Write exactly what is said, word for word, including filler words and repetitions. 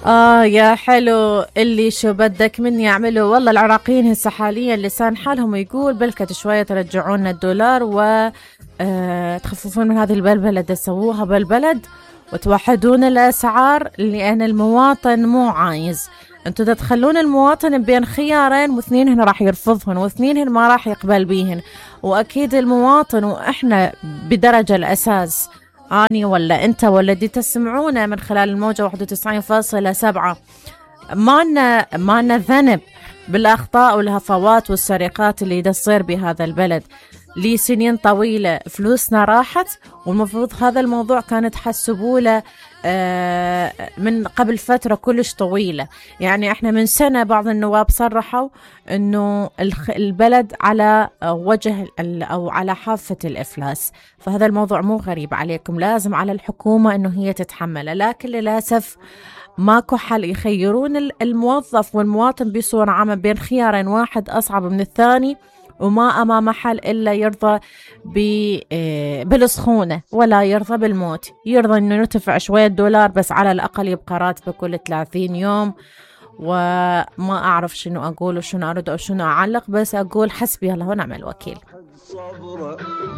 آه يا حلو اللي شو بدك مني أعمله. والله العراقيين هسه حاليا لسان حالهم يقول بلكت شوية ترجعون الدولار و آه تخففون من هذه البلبلة اللي سووها بالبلد وتوحدون الأسعار، لأن المواطن مو عايز. انتوا تدخلون المواطن بين خيارين واثنين هنا راح يرفضهن واثنين هنا ما راح يقبل بيهن. وأكيد المواطن وإحنا بدرجة الأساس، أني ولا أنت ولا دي تسمعونا من خلال الموجة واحد وتسعين فاصلة سبعة، ما لنا ما لنا ذنب بالأخطاء والهفوات والسرقات اللي تصير بهذا البلد. لي سنين طويلة فلوسنا راحت، والمفروض هذا الموضوع كانت تحسبوا له من قبل فترة كلش طويلة. يعني احنا من سنة بعض النواب صرحوا انه البلد على وجه او على حافة الافلاس، فهذا الموضوع مو غريب عليكم، لازم على الحكومة انه هي تتحمله. لكن للأسف ماكو حل، يخيرون الموظف والمواطن بصورة عامة بين خيارين، واحد أصعب من الثاني، وما أمام حل إلا يرضى بالسخونة ولا يرضى بالموت. يرضى إنه يرتفع شوية دولار بس على الأقل يبقى راتبه كل ثلاثين يوم. وما أعرف شنو أقول وشنو أرد أو شنو أعلق، بس أقول حسبي الله ونعم الوكيل.